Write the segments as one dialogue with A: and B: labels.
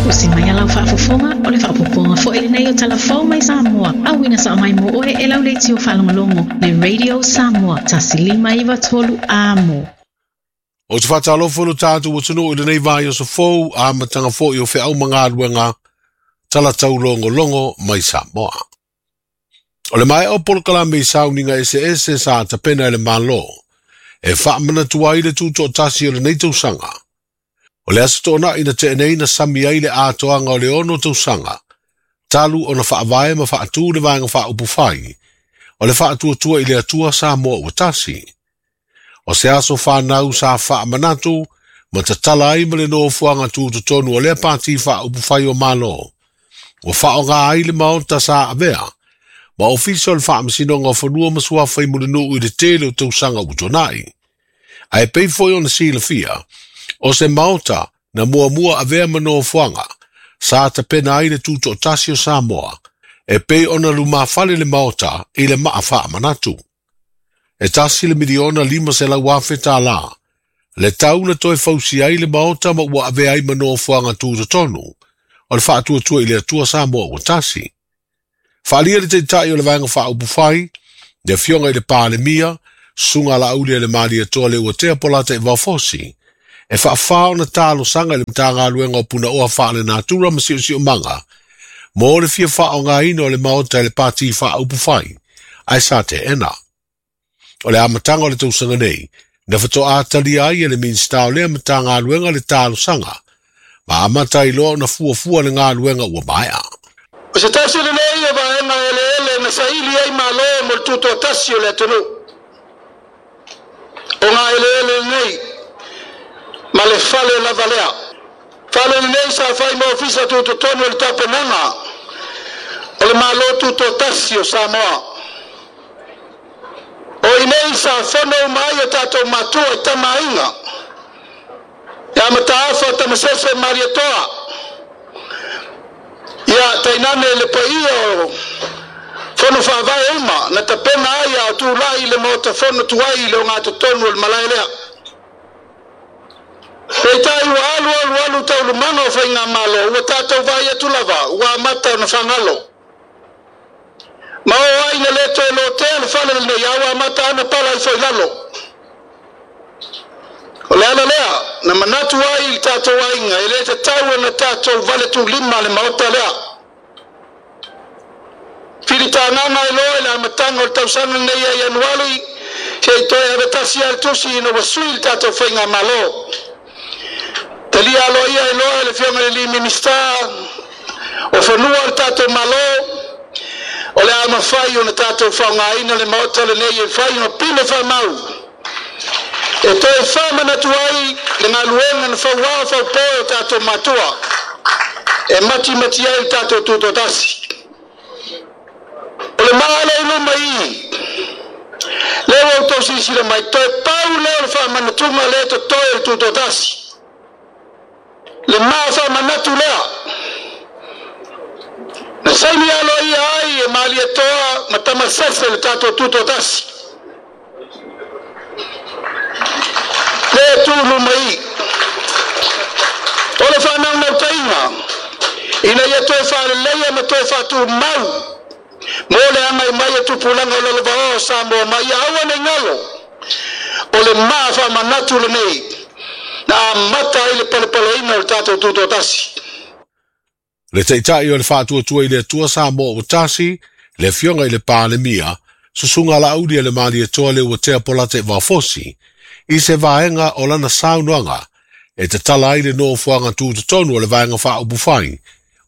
A: Usi mai a lau faafofoga, o le faaopoopoga foi lenei o Tala Fou mai Samoa, auina sao mai mo oe e lau leitio faalogologo, le Radio Samoa, 1593 Amo.
B: Ou te faatalofa i lo tatou atunuu i lenei vaiaso fou, amataga foi o feau ma galuega, tala taulogologo mai Samoa. O le maea o polokalame i sauniga eseese sa tapena e le Malo, e faamanatu ai le tutoatasi o lenei tausaga. O le Aso Toonai na tea nei na sami ai le atoaga o le 6 tausaga, talu ona faavae ma faatu le Vaega Faaupufai, o le faatuatua i le Atua Samoa ua tasi. O se aso fanau sa faamanatu ma tatala ai ma le nofoaga tutotonu o lea pati faaupufai o Malo, ua faaaoga ai le maota sa avea ma ofisa o le Faamasinoga o Fanua ma Suafa i Mulinuu i le tele o tausaga ua tuanai. Ae pei foi ona silafia, o se maota na muamua avea ma nofoaga sa tapena ai le tutoatasi o Samoa, e pei ona lumafale le maota i le maa faamanatu. E $1,500,000 le tau na toe fausi ai le maota ma ua avea ai ma nofoaga tutotonu o le faatuatua i le Atua Samoa ua tasi. Faaalia le taitai o le Vaega Faaupufai, le afioga i le Palemia, Susuga Laauli a le Malietoa Leuatea Polata i Vaofosi, e faafā ona talosaga i le Matagaluega o Punaoa Faalenatura ma Siosiomaga mo le fia faaaogaina o le maota e le Pati Faaupufai, ae sa teena. O le amataga o le tausaga nei, na faatoa talia ai e le Minisita o lea Matagaluega le talosaga, ma amata ai loa ona fuafua le galuega ua maea.
C: O se tasi lenei o vaega eleele na saili ai Malo mo le tutoatasi o le atunuu. O ngā eleele lenei ma le fale lava lea. Fale lenei sa fai ma ofisa tutotonu o le tapenaga o le Malo tutoatasi o Samoa. O inei sa fono uma ai o tatou matua i tamaaiga. Ia Mataafa Tamasese Malietoa. Ia tainane le paia o fono faavae uma na tapena ai a o tulai le maota fono tuai i le ogatotonu o le malae lea. Peitai ua alu alu alu taualumaga o faigamalo ua tatou vaai atu lava ua amata ona fagalo. Ma oo ai ina le toe lotea le fale lenei a ua amata ana pala ifo i lalo. O le ala lea na manatu ai i le tatou aiga e le tatau ona tatou vale tulima le maota lea. Filitagaga ai loa i le amataga o le tausaga lenei ia Ianuari se i toe avetasi lava le tusi ina ua sui le tatou faigamalo. Talia aloaia ai loa e le Afioga i le alii Minisita o Fanua o le tatou Malo, o le a mafai ona tatou faaaogaina le maota lenei e fai ma pine faamau e toe faamanatu ai le galuega na fauao faupo e o tatou matua e matimati ai le tatou tutoatasi. O le maa lea i luma i i, lea ua outou silasila mai, toe pau lea o le faamanatuga lea e totoe o le tutoatasi. Le maa faamanatu lea na saini aloaia ai e Malietoa ma Tamasese le tatou tutoatasi. Lea e tu i luma i i. O le faanaunautaiga ina ia toe faaleleia ma toe faatumau mo le agai mai o tupulaga o lalovaoa o Samoa ma ia aua ne i galo o le maa faamanatu lenei na amata ai le palepaleina o le tatou tutoatasi.
B: Le Taitai o le Faatuatua i le Atua Samoa ua tasi, le Afioga i le Palemia, Susuga Laauli a le Malietoa Leuatea Polata i Vaofosi, i se vaega o lana saunoaga e tatala ai le nofoaga tutotonu o le Vaega Faaupufai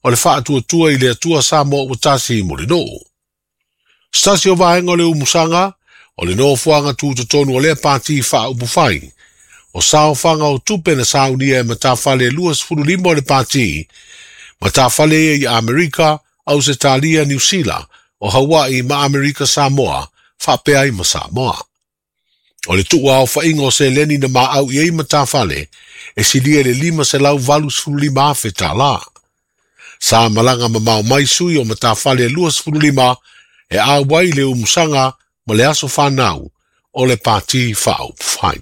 B: o le Faatuatua i le Atua Samoa ua tasi i Mulinuu. Se tasi o vaega o le umusaga o le nofoaga tutotonu o lea Pati Faaupufai, o saofaga o tupe na saunia e matafale 25 o le Pati, matafale ia i Amerika, Ausetalia, Niu Sila, o Hawaii ma Amerika Samoa, faapea ai ma Samoa. O le tuuaofaiga o seleni na maau i ai matafale e silia i le $585,000 tala. Sa malaga mamao mai sui o matafale 25 e auai le umusaga ma le aso fanau o le Pati Faaupufai.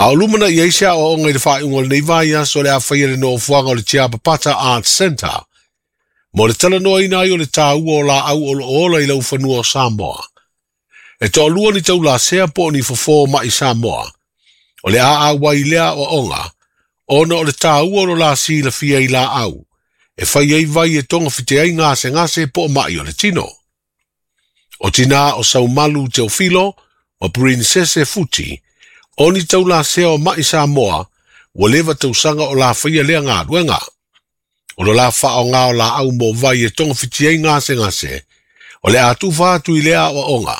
B: A o lumanaʻi ai se aʻoaʻoga i le faaiuga o lenei vaiaso o le a faia le nofoaga o le Tiapapata Arts Centre mo le talanoaina ai o le taua o laau o lo o ola i laufanua o Samoa. E toalua ni taulasea po o ni fofo mai Samoa. O le a auai i lea aʻoaʻoga ona o le taua o lo la silafia i laau e fai ai vai e togafiti ai gasegase po o maʻi o le tino. O tinā o Saumalu Teofilo ma Princese Futi, o ni taulasea o mai Samoa, ua leva tausaga o la faia lea galuega. O lo la faaaoga o laau mo vai e togafiti ai gasegase, o le a tufa atu i lea aʻoaʻoga,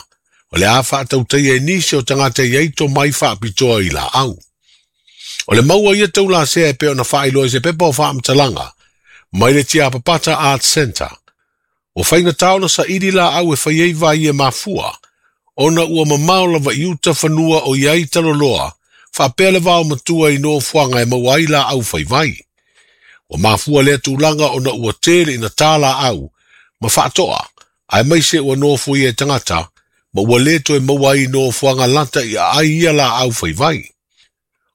B: o le a faatautaia e nisi o tagata i ai tomai faapitoa i laau. O le maua ia taulasea e pei ona faailoa i se pepa o faamatalaga mai le Tiapapata Arts Centre. Ua faigata ona saili laau e fai ai vai e mafua, ona ua mamao lava i uta fanua o i ai taloloa, faapea le vaomatua i nofoaga e maua ai laau fai vai. Ua mafua lea tulaga ona ua tele ina tā laau ma faatoa, aemaise ua nofoia e tagata, ma ua le toe maua ai nofoaga lata i aai ia laau fai vai.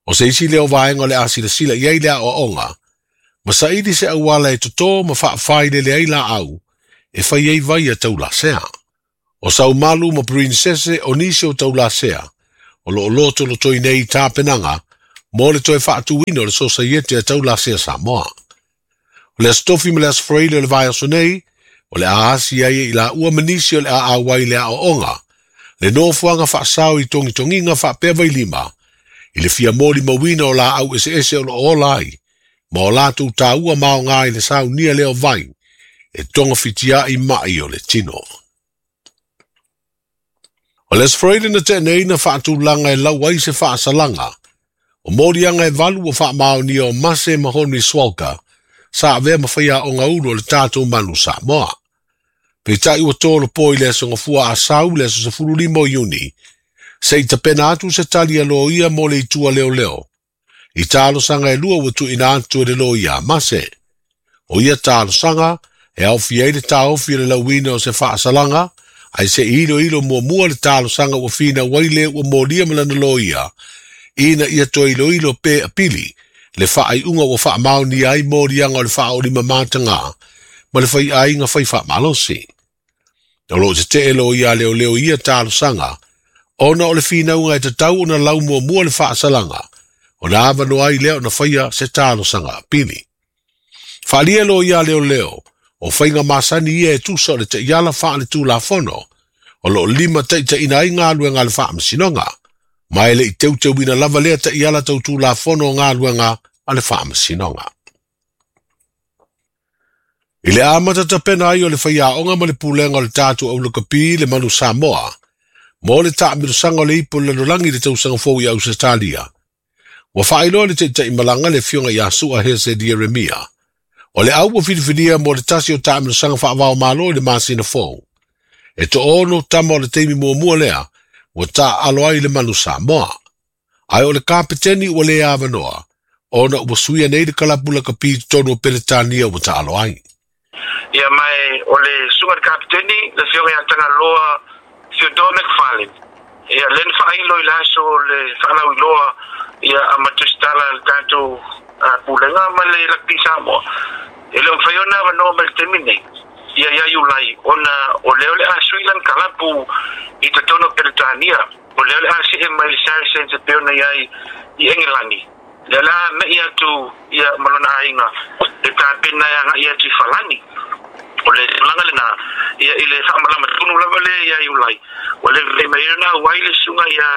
B: O se isi lea o vaega o le a silasila i ai le aʻoaʻoga, ma saili se auala e totō ma faafailele ai laau e fai ai vai a taulasea. O Saumalu ma Princese o nisi o taulasea, o lo o lotolotoi nei tapenaga mo le toe faatuina o le Sosaiete a Taulasea Samoa. O le Aso Tofi ma le Aso Faraile o le vaiaso nei, o le a asi ai i laua ma nisi o le a auai i le aʻoaʻoga, le nofoaga faasao i togitogiga faapea vailima, i le fia molimauina o laau eseese o lo o ola ai, ma o latou taua ma aoga i le saunia lea o vai, e togafitiaʻi maʻi o le tino. O le Aso Faraile na tea nei na faatulaga e lau ai se faasalaga, o moliaga e valu ua faamaonia o Mase ma Henry Swalka, sa avea ma faiaoga ulu o le tatou Manu Samoa. Peitai ua tolopo i le aso Gafua a Sau le aso 15 o Iuni, se i tapena atu se tali a loia mo le itu a leoleo. I talosaga e lua ua tuuina atu e le loia a Mase. O ia talosaga e aofia ai le taofi o le lauina o se faasalaga, ae se i iloilo muamua le talosaga ua finau ai le ua molia ma lana loia, ina ia toe iloilo pe apili le faaiuga ua faamaonia ai moliaga o le faaolimamatagā ma le faiaiga fai faamalosi. O lo o tetee loia a leoleo i ia talosaga, ona o le finauga e tatau ona lau muamua le faasalaga, ona avanoa ai lea ona faia se talosaga apili. Faaalia loia a leoleo, o faiga masani ia e tusa o le taiala faaletulafono, o lo o limataitaiina ai galuega a le faamasinoga, ma e le i teuteuina lava lea taiala tautulafono o galuega a le faamasinoga. I le amata tapena ai o le faiaoga ma le pulega o le tatou aulakapi le Manu Samoa, mo le taamilosaga o le ipu o le lalolagi i le tausaga fou i Ausetalia, ua faailoa le taitaimalaga le afioga ia Sua Hese Ieremia, o le au ua filifilia mo le tasi o taamilosaga faavaomalo i le masina fou. E toaono tama o le taimi muamua lea ua taaalo ai le Manu Samoa. Ae o le kapeteni ua le avanoa, ona ua suia nei le kalapu lakapi i totonu o Peretania ua taalo ai.
D: Ia mae o le susuga i le kapeteni, le afioga ia Tagaloa Theodore McFarlane. Ia lea na faailo i le aso o le faalauiloa ia a ma tusitala a le tatou pulega ma le Rugby Samoa. E le o mafai ona avanoa mai i le taimi lenei ia ia Iulai ona o lea o le a sui lana kalapu i totonu o Peretania. O lea o le a see mai le Saracens e pei ona i ai i Engelani. Lea o le a me'i atu ia ma lona aiga e tapena e agai atu i Falani. O le tulaga lena ia i le faamalama tonu lava lea ia Iulai. Ua le lelei mai ai ona auai le susuga ia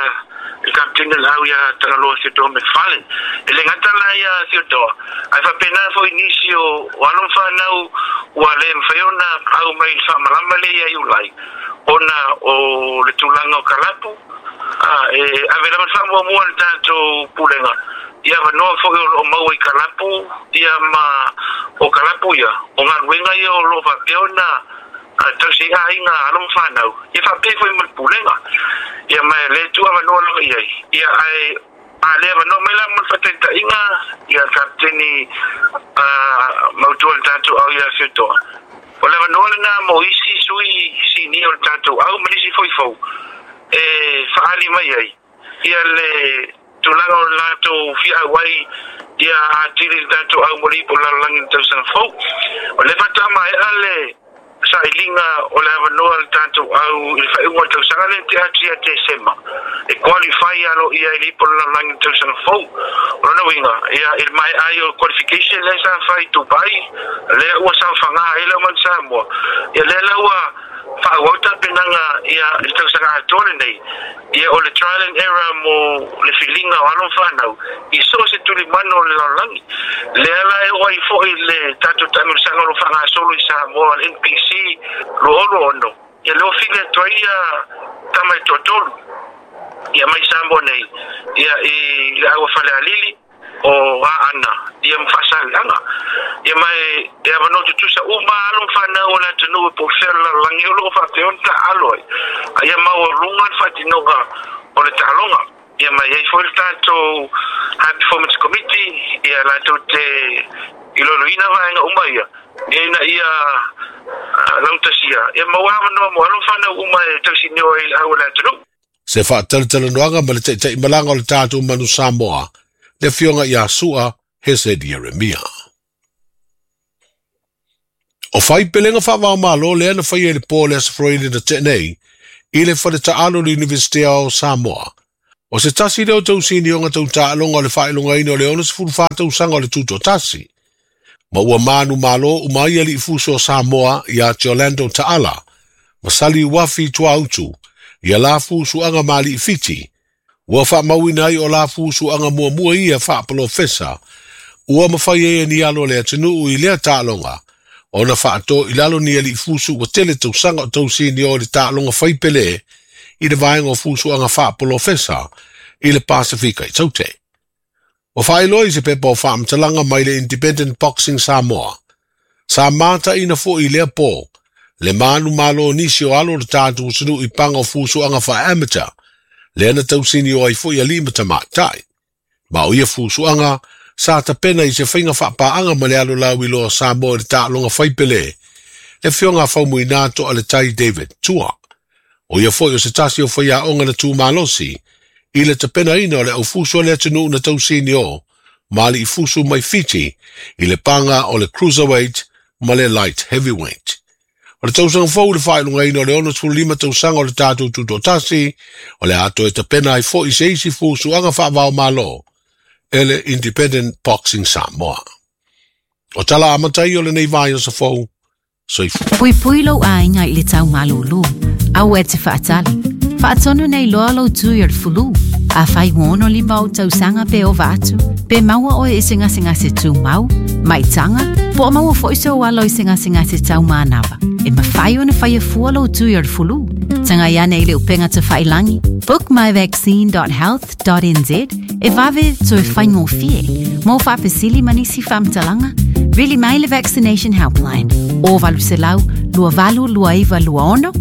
D: le Kapeteni o le au ia Tagaloa Theodore McFarlane. E le gata la ia Theodore, ae faapena foi nisi o alo ma fanau ua le mafai ona au mai i le faamalama lea ia Iulai ona o le tulaga o kalapu. E ave lava le faamuamua i le tatou pulega i avanoa foi o lo o maua i kalapu ia ma o kalapu ia, o galuega ia o lo o faapea ona tausi ai aiga alo ma fanau ia faapea foi ma le pulega ia ma e le tuu avanoa lava i ai ia ae a le avanoa mai la mo le faataitaiga ia kapeteni mautua o le tatou au ia Feutoa o le avanoa lena mo isi sui sinia o le tatou au ma nisi foi fou e faaali mai ai ia le tulaga o le latou fia auai ia atili le tatou au mo le ipu o le lalolagi i le tausaga fou. O lea faatoa maea le sailiga o le avanoa a le tatou au i le faaiuga o le tausaga lea na tea atu ia Tesema e qualify aloaia i le ipu o le lalolagi i le tausaga fou. O lona uiga, ia, i le maea ai o qualification lea sa fai i Dubai, lea ua saofaga ai le aumai Samoa, ia lea la ua faaauau tapenaga ia i le tausaga atoa lenei, ia o le trial and error mo le filiga o alo ma fanau i so o se tulimanu o le lalolagi. Lea la e oo ai foi le tatou taamilosaga o lo o faagasolo i Samoa, le NPC 2026, ia lea ua fili atu ai ia tama e toatolu ia mai Samoa nei ia i le au a Falealili, o Aana ia ma Faasaleleaga. Ia ma e avanoa tutusa uma alo ma fanau o le atunuu e po o fea o le lalolagi o lo o faapea ona taaalo ai, a ia maualuga le faatinoga o le taaloga. Ia ma e i ai foi le tatou High Performance Committee ia latou te iloiloina vaega uma ia, ina ia lautasia ia maua avanoa mo alo ma fanau uma e tausinio ai i le au o le atunuu.
B: Se faatalatalanoaga ma le taitaimalaga o le tatou Manu Samoa, le Afioga ia Sua Hesed Ieremia. O faipelega faava-o-Malo lea na faia i le po o le Aso Faraile na tea nei i le fale taalo o le Iunivesite o Samoa. O se tasi lea o tausinioga tau taaloga o le faailogaina o le 64 tausaga o le Tutoatasi, ma ua manumalo uma ai alii fuso o Samoa ia Jolando Taala ma Sali Uafi i Tuaautu ia la fusuaga ma alii Fiti, ua faamauina ai o la fusuaga muamua ia faapolofesa ua mafai ai e ni alo o le atunuu i lea taaloga ona faato i lalo ni alii fusu ua tele tausaga o tausinio i le taaloga faipele i le vaega o fusuaga faapolofesa i le Pasefika i Taute. Ua faailoa i se pepa o faamatalaga mai le Independent Boxing Samoa, sa mataina foi i lea po le manumalo o nisi o alo o le tatou atunuu i paga o fusuaga faa-amateur, lea na tausinio ai foi alii ma tamaitai. Ma o ia fusuaga sa tapena i se faiga faapaaga ma le alo lauiloa o Samoa i le taaloga faipele, le Afioga a Faumuina Toaletai David Tua. O ia foi o se tasi o faiaoga na tumalosi i le tapenaina o le aufusu a le atunuu na tausinio ma alii fusu mai Fiti i le paga o le cruiserweight ma le light heavyweight. O le tausaga fou i le faailogaina o le 65 tausaga o le tatou Tutoatasi, o le a toe tapena ai foi se isi fusuaga faava-o-Malo e le Independent Boxing Samoa. O tala amata ia o lenei vaiaso fou, Soifua.
A: Puipui lou aiga i le tau malūlū. Aua e te faatali. Faatonu nei loa lou tui o le fulu. Afai ua 65 ou tausaga pe ova atu, pe maua oe i se gasegase tumau, maitaga, po o maua foi sou alo i se gasegase tau manava, e mafai ona faia fua lou tui o le fulu. Tagai ane i le upega tafailangi bookmyvaccine.health.nz e vave toe faigofie. Mo faafesili ma nisi faamatalaga, vili mai le Vaccination Helpline o 800 2829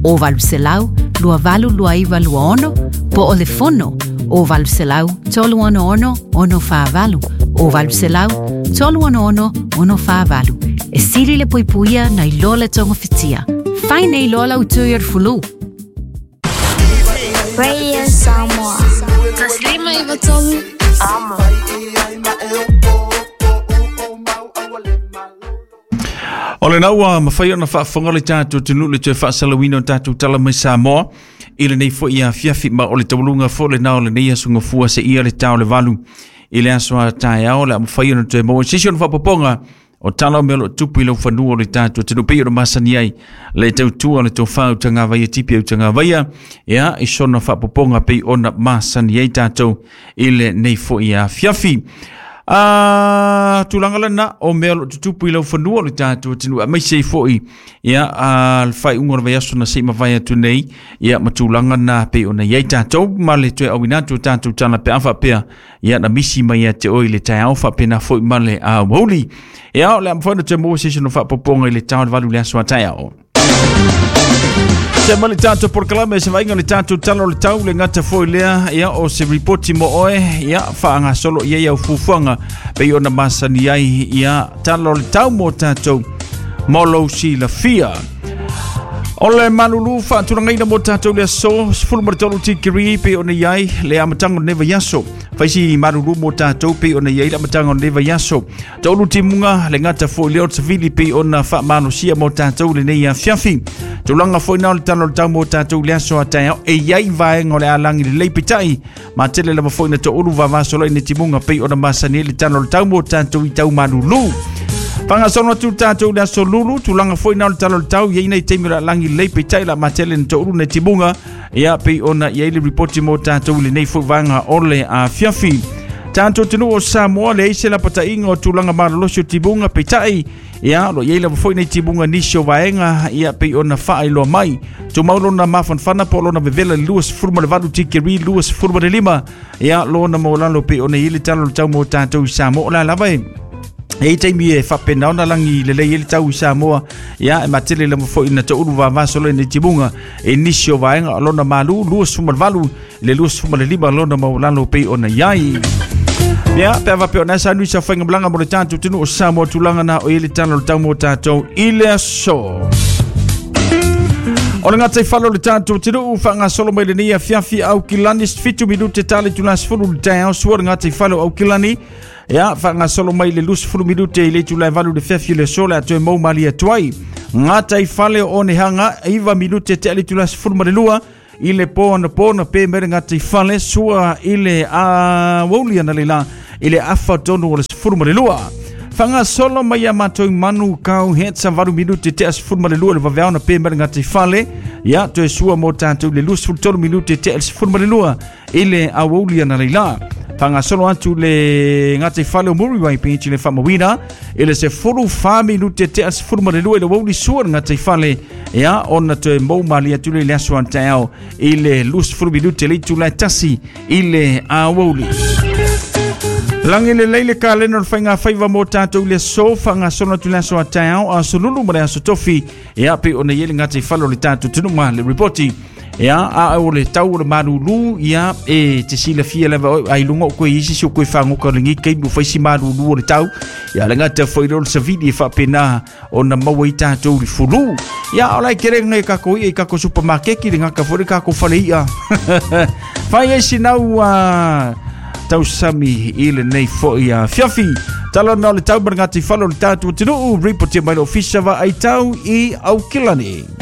A: 26 o 800 2829 26 po o le fono o 800 366 648 o 800 366 648. E sili le puipuia nai lo le togafitia. Fai nei loa lau tui o le fulu.
E: Radio Samoa. Taslima i tolu. Amo.
F: O lena ua mafai ona faafofoga le tatou atunuu i le toe faasalauina o tatou tala mai Samoa i lenei foi afiafi ma o le taualuga foi lena o lenei aso gafua seia le tao le valu i le aso a taeao o le a mafai ona toe maua se isi ona faaopoopoga o tala o mea o lo o tupu i lau fanua o le tatou atunuu pei ona masani ai le tautua o le tofa Utagavaia Tipi Utagavaia ia i sona faaopoopoga pei ona masani ai tatou i lenei foi afiafi. A tulaga lena o mea o lo o tutupu i lau fanua o le tatou atunuu aemaise ai foi ia a le faaiuga o le vaiaso na se i mavae atu nei ia ma tulaga na pei ona i ai tatou ma le toe auina atu o tatou tala pe a faapea ia na misi mai ia te oe i le taeao faapena foi ma le aoauli. Ia o le a mafai ona toe maua se isi ona faaopoopoga i le tao le valu le aso a taeao. Se ma le tatou polokalame se vaaiga o le tatou tala o le tau le gata foi lea ia o se ripoti mo oe ia faagasolo i ai au fuafuaga pei ona masani ai ia tala o le tau mo tatou mo lou silafia. O le malulu faatulagaina mo tatou le aso 13 tikiri pe ona i ai le amataga o lenei vaiaso. Faisi malulu mo tatou pe ona i ai le amataga o lenei vaiaso. Taulu timuga le gata foi lea o le savili pe ona faamalosia mo tatou lenei afiafi. Tulaga foi na o le tala o le tau mo tatou le aso a taeao e i ai vaega o le alagi lelei peitai ma tele lava foi na toulu vavasolo i ni timuga pei ona masani ai le tala o le tau mo tatou i tau malulu. Whangasolo atu tātou le aso lulu, tulaga foi na o le tala o le tau, iai nei taimi o le alagi lelei peitai la matele na toulu nei timuga, ia pei ona i ai le ripoti mo tātou i lenei foi vaega o le afiafi. Tātou atunuu o Samoa, leai se lapataiga o tulaga malolosi o timuga, peitai, ia, lo i ai lava foi nei timuga nisi o vaega, ia pei ona faailoa mai. Tumau lona mafanafana po o lona vevela i le 28 tikeri 25, ia lona maualalo pei ona i ai le tala o le tau mo tātou i Samoa. O la lava e E i taimi e faapena ona lagi lelei ai le tau i Samoa, ia e matele lava foi na toulu vavasolo i nei timuga e nisi o vaega o lona malu 28 le 25 lona maualalo pei ona i ai. Ia, pe a faapea o na sa nui sa whainga malanga mo le tātou tunu o Samoa tulaga na o i le tala o le tau mo tātou i le aso. O le ngatai falo le tātou atunuu whaangasolo mai lenei afiafi Aukilani 7 minute tale tula 10 le taeao sua le ngatai falo Aukilani. Ia, whaangasolo mai le 20 minute i le itula e 8 le fiafi o le aso le a toe mau malie atu ai. Ngatai fale o Onehanga 9 minute te ale itula 12 i le po anapo na pe mai le ngatai fale sua i le aoauli analeila i le afa tonu o le 12. Whangasolo mai a mātou manu kau hetsa 8 minute te a 12 le vaveao na pe mai le ngatai fale. Ia, toe sua mō tātou le 23 minute te a 12 i le aoauli analeila. Whangasolo atu le ngatai fale o Muriwai Beach i le whamawina i le 14 minute te a 12 i le aoauli sua le ngatai fale. Ia, ona toe mou malie atu le aso a taeao i le 20 minute le itula e tasi i le aoauli. Lagi lelei le kalena o le faiga faiva mo tātou i le aso, whangasolo atu le aso a taeao, aso lulu ma le aso tofi. Ia, pei ona i ai le ngatai fale o le tātou atunuu ma le ripoti. Ia, a o le tau o le malulu, ia, e te silafia lava oe, ai lunga o koe isi si o koe whangoka o lengi kei mo whaisi malulu o le tau. Ia, le ngata foi leo le savili e whaapena ona maua i tātou le fulu. Ia, o lai kere ngai kako ia i kako supermarket le ngaka foi le kako fale ia. Whai ai sinau tausami i lenei foi afiafi. Tala na o le tau ma le ngati fale o le tātou atunuu, ripotia mai le ofisa wa ai tau i Aukilani.